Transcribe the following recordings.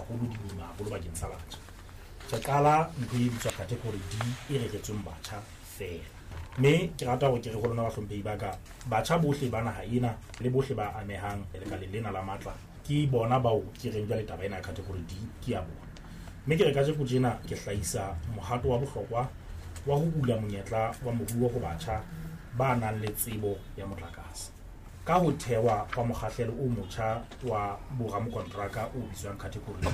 haholo, di boima haholo bakeng sa batjha. Re qala ntho e bitswa category D e reretsweng batjha feela. Mme ke rata hore ke re ho lona bahlomphehi ba ka, batjha bohle ba naha ena le bohle ba amehang lekaleng lena la matla ke bona bao ke reng jwale taba ena ya category D ke ya bona. Mme ke re kajeko tjena ke hlahisa mohato wa bohlokwa wa ho bula monyetla wa moruo ho batjha ba nang le tsebo ya motlakase ka ho thewa hwa mokgahlelo o motjha wa boramokonteraka o bitswang category D.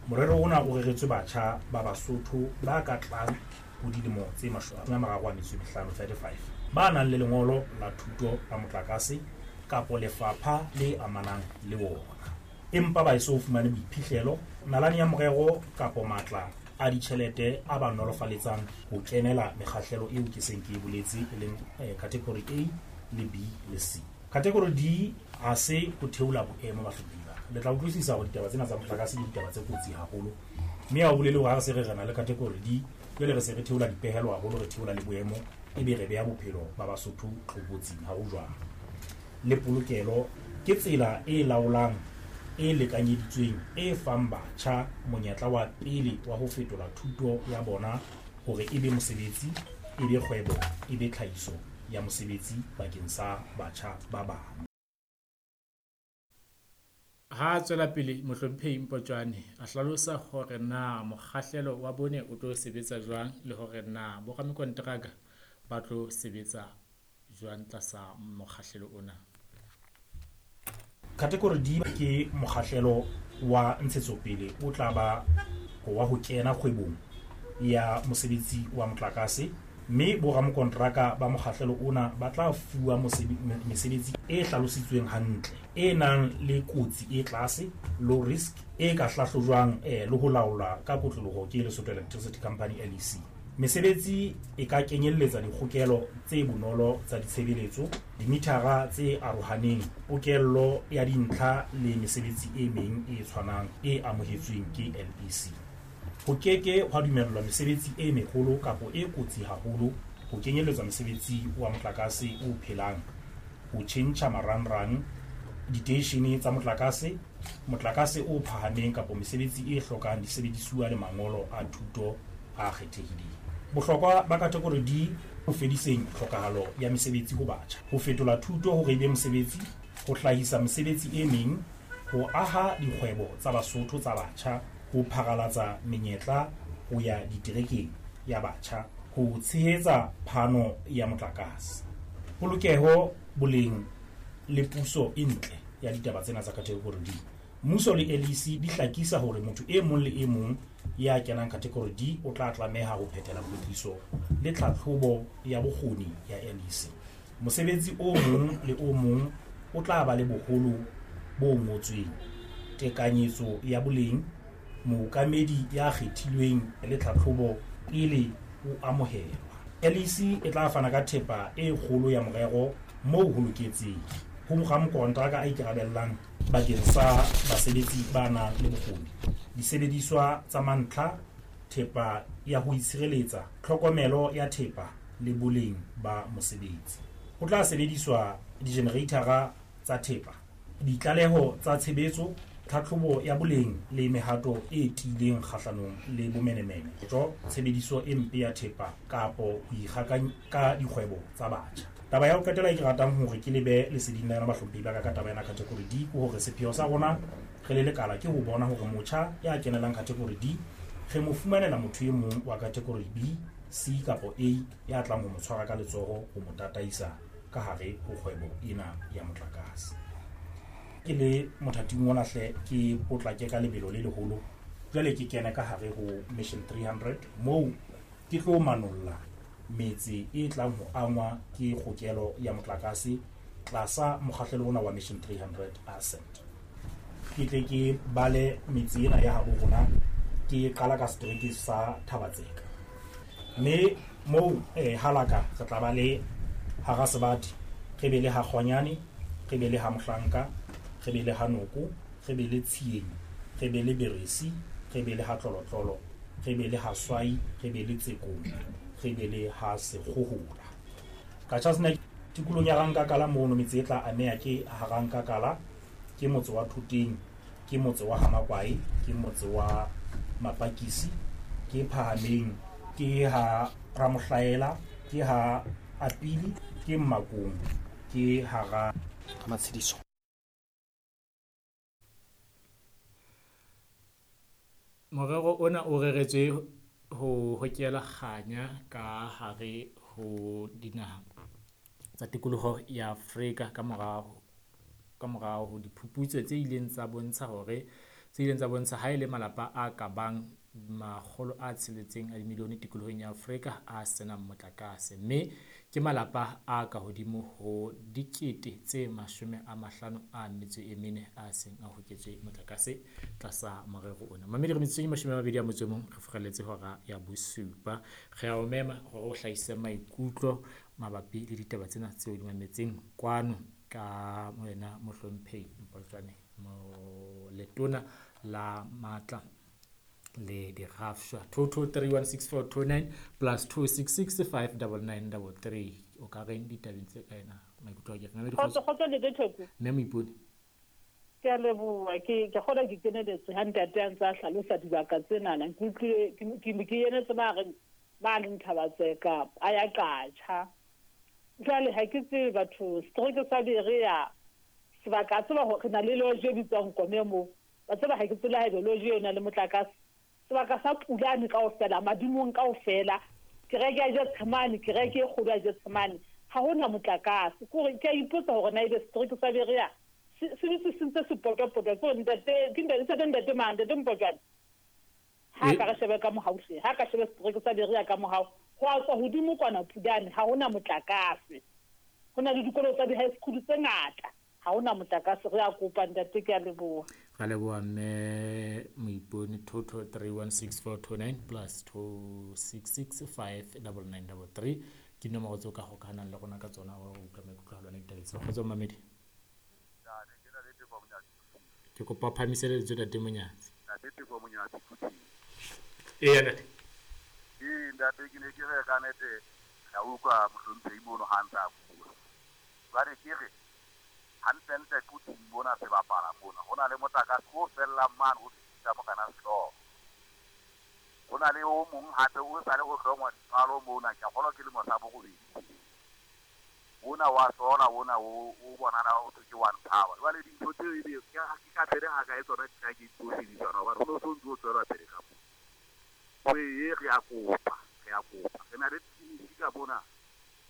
Morero ona o reretswe batjha ba Basotho ba ka tlang ho dilemo tse 35, 35, ba nang le lengolo la thuto la motlakase kapo lefapha le amanang le wona, empa ba eso fumane boiphihlelo, nalane ya morero kapo matla a ditjhelete a ba nolofaletsang ho kenela mekgahlelo eo ke seng ke e boletse, e leng category A le B le C. Category D ha se ho theola boemo bahlomphehi ba ka. Le tla utlwisisa hore ditaba tsena tsa motlakase ke ditaba tse kotsi haholo, mme ha o bolele hore ha re se re re na le category D, jwale re se re theola dipehelo haholo, re theola le boemo, ebe re beha bophelo ba Basotho tlokotsing. Ha ho jwalo. Le polokelo ke tsela e laolang e lekanyeditsweng e fang batjha monyetla wa pele wa ho fetola thuto ya bona hore e be mosebetsi, e be kgwebo, e be tlhahiso ya mosebetsi bakeng sa batjha ba bang. Ha a tswela pele Mohlomphehi Mpotjwane a hlalosa hore na mokgahlelo wa bone o tlo sebetsa jwang le hore na boramekonteraka ba tlo sebetsa jwang tlasa mokgahlelo ona. Category D ke mokgahlelo wa ntshetsopele o tla ba wa ho kena kgwebong ya mosebetsi wa motlakase, mme boramokonteraka ba mokgahlelo ona ba tla fuwa mesebetsi e hlalositsweng hantle, e nang le kotsi e tlase, low risk, e ka hlahlojwang le ho laolwa ka kotloloho ke Lesotho Electricity Company, LEC. Mesebetsi e ka kenyelletsa dikgokelo tse bonolo tsa ditshebeletso, dimithara tse arohaneng, pokello ya dintlha le mesebetsi e meng e tshwanang e amohetsweng ke LEC. Ho keke hwa dumellwa mesebetsi e meholo kapo e kotsi haholo, ho kenyelletswa mosebetsi wa motlakase o phelang, ho tjhentjha marangrang, diteishene tsa motlakase, motlakase o phahameng kapo mesebetsi e hlokang disebedisuwa le mangolo a thuto a kgethehileng. Bohlokwa ba category D ho fediseng tlhokahalo ya mesebetsi ho batjha, ho fetola thuto hore e be mosebetsi, ho hlahisa mesebetsi e meng, ho aha dikgwebo tsa Basotho tsa batjha, ho pharalatsa menyetla ho ya diterekeng ya batjha, ho tshehetsa phano ya motlakase, polokeho, boleng le puso e ntle ya ditaba tsena tsa category D. Mmuso le LEC di hlakisa hore motho e mong le e mong ya kenang category D o tla tlameha ho phethela kwetliso le tlhatlhobo ya bokgoni ya LEC. Mosebetsi o mong le o mong o tla ba le boholo bo ngotsweng, tekanyetso ya boleng, mookamedi ya kgethilweng le tlhatlhobo pele o amohelwa. LEC e tla fana ka thepa e kgolo ya morero moo ho loketseng ho ramokonteraka a ikarabellang bakeng sa basebetsi ba nang le bokgoni, disebediswa tsa mantlha, thepa ya ho itshireletsa, tlhokomelo ya thepa le boleng ba mosebetsi. Ho tla sebediswa dijenereithara tsa thepa, ditlaleho tsa tshebetso, tlhatlhobo ya boleng le mehato e tiileng kgahlanong le bomenemene, tshebediso e mpe ya thepa kapo ho ikgaka ka dikgwebo tsa batjha. Taba ya ho qetela e ke ratang hore ke lebe leseding la yona bahlomphehi ba ka ka taba ena category D ke hore sepheo sa rona re le lekala ke ho bona hore motjha ya kenelang category D re mo fumanela motho e mong wa category B, C kapo A ya tlang ho mo tshwara ka letsoho ho mo tataisa ka hare ho kgwebo ena ya motlakase. Ke le mothating ona hle ke potlake ka lebelo le leholo, jwale ke kene ka hare ho Mission 300 moo ke tlo manolla metse e tlang ho angwa ke kgokelo ya motlakase tlasa mokgahlelo ona wa Mission 300 Ascent. Ke tle ke bale metse ena ya habo rona, ke qala ka setereke sa Thabatseka. Mme moo halaka re tla ba le hara Sebati, re be le ha Kgonyane, re be le ha Mohlanka, re be le ha Noko, re be le Tshieng, re be le Beresi, re be le ha Tlolotlolo, re be le ha Swai, re be le Tsekong, re be le ha Sekgohola. Qacha's Nek tikolong ya Rankakala mono metse e tla ameha ke ha Rankakala, ke motse wa Thoteng, Ke motse wa Hamakwae, ke motse wa Mapakisi, ke Phahameng, ke ha Ramohlaela, ke ha Apili, ke Mmakong, ke hara Matshediso. Morero ona o reretswe ho hokela kganya ka hare ho dinaha tsa tikoloho ya Afrika ka morao ka morao ho diphuputso tse ileng tsa bontsha hore tse ileng tsa bontsha ha e le malapa a ka bang 600 a dimilione tikolohong ya Afrika a senang motlakase, mme ke malapa a ka hodimo ho 54,000 a seng a hoketswe motlakase tlasa morero ona. Mamedi re metsotsong e 21 re furaletse hora ya bosupa. Re a o mema hore o hlahise maikutlo mabapi le ditaba tsena tseo di mametseng kwano ka wena mohlomphehi Mpotjwane letona la matla le dirafshwa. 22316429 plus 266 59933. O ka reng ditabeng tse ka ena maikutlo a ke reng? Kgotso, kgotso le Theko. Mme Moipone. Ke a leboha, ke kgona ke keneletse ha ntate a ntse a hlalosa dibaka tsenana. Ke utlwile ke enetse ba reng ba leng Thabatseka a ya Qacha. Jwale ha ke tsebe batho setereke sa Berea sebaka tseba hore re na le lodge e bitswang Kome moo. Ba tseba ha ke tsebe haebe lodge eo e na le motlakase. Sebaka sa Pulane kaofela, madimong kaofela, kereke ya Getsemane, kereke e kgolo ya Getsemane, ha hona motlakase. Ke hore ke a ipotsa hore na ebe setereke sa Berea se se dutse se ntse se potwa-potwa. Ke hore ntate, ke ntate, ntate mang, ntate Mpotjwane? Ha ka re shebe ka mohau hle, ha ka shebe setereke sa Berea ka mohau, ho a tswa hodimo kwana Pulane, ha hona motlakase. Ho na le dikolo tsa di-high school tse ngata, ha hona motlakase. Re a kopa ntate, ke a leboha. Ra leboha mme Moipone. 22316429 plus 266 59933 ke dinomoro tseo ka hokahanang le rona ka tsona ho utlwa maikutlo a lona ditabeng tseo. Kgotso mamedi. Ke kopa o phahamise lentswe, ntate Monyatsi. Ntate Teko Monyatsi Quthing. Eya ntate. Ee ntate, ke ne ke re ka nete ka utlwa mohlomphehi mono ha ntse a bua. Jwale ke re hantlentle Quthing mona sebapala mona ho na le motlakase o fellang mane ho fetisa Morena Sehlooho. Ho na le o mong hape o sale ho hlongwa dipalo mona, ke a kgolwa ke lemo sa borobedi. Ona wa sola ona o bonana o thwe ke One Power. Jwale dintho tseo ebe ke ka pele ha kae tsona di tla ke tlo sebediswa hobane ho no so ntse o tswelwa pele ka moo. Ee re a kopa, re a kopa. Re na le tleliniki ka mona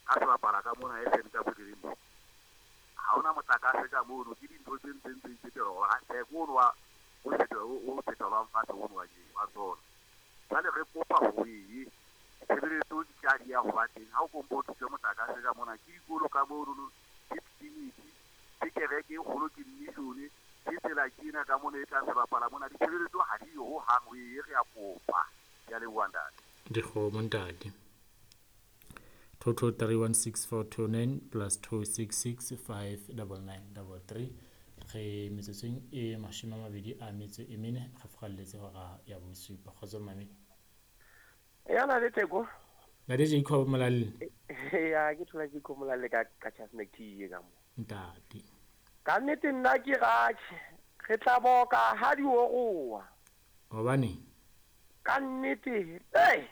ka sebapala ka mona e seng ka bodireng mo. Ha hona motlakase ka mono, ke dintho tse ntseng tse iphetela hore theko ono wa o o fetolwang fatshe ono wa wa sola. Jwale re kopa hore tshebeletso di tla di ya ho ba teng. Ha o kompo o thuse motlakase ka mona, ke dikolo ka mono, ke tleliniki, ke kereke e kgolo, ke mission, ke tsela ke ena ka mona e tla sebapala mona. Ditshebeletso ha di yo hohang, ee re a kopa. Ke a leboha ntate. Dikgomo ntate. 22316429 plus 266 59933. Re metsotsong e 24 re furaletse hora ya bosupa. Kgotso mamedi. Ya na le Theko. Ntate Jacob Molalle. Ya ke thola Jacob Molalle ka Qacha's Nek ka mo. Ntate. Ka nnete nna ke ratjhe. Re tla boka ha di oroha. Hobane? Ka nnete. Hey.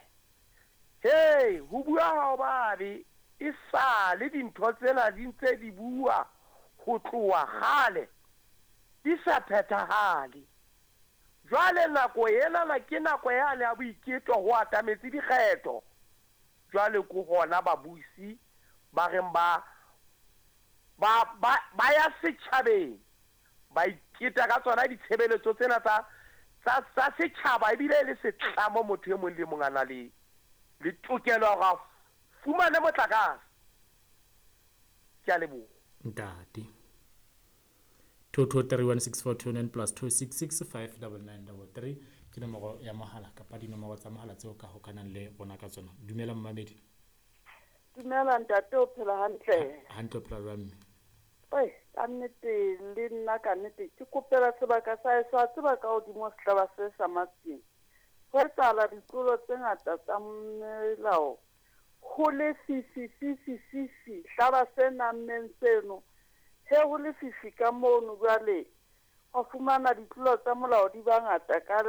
Hey, ho bua ha o babe. E sale dintho tsena di ntse di bua ho tloha kgale. Di sa phethahale. Jwale nako enana ke nako yane ya boiketo ho atametse dikgetho. Jwale ke hona babusi ba reng ba ba ba ba ya setjhabeng ba iketa ka tsona ditshebeletso tsena tsa tsa tsa setjhaba ebile e le setlamo motho e mong le mong a na le le tokelo ya hore a fumane motlakase. Ke a leboha. Ntate. 22316429 plus 266 59933 ke nomoro ya mohala kapa dinomoro tsa mohala tseo ka hokanang le rona ka tsona. Dumela mmamedi. Dumela ntate, o phela hantle? Hantle, o phela jwang mme? Oi, ka nnete le nna ka nnete ke kopela sebaka sa heso. A tseba ka hodimo sehlaba se sa Matseng ho etsahala ditlolo tse ngata tsa melao, ho lefifi fifi fifi hlaba se nammeng seno he, ho lefifi ka mono. Jwale Wa fumana ditlolo tsa molao di ba ngata ka.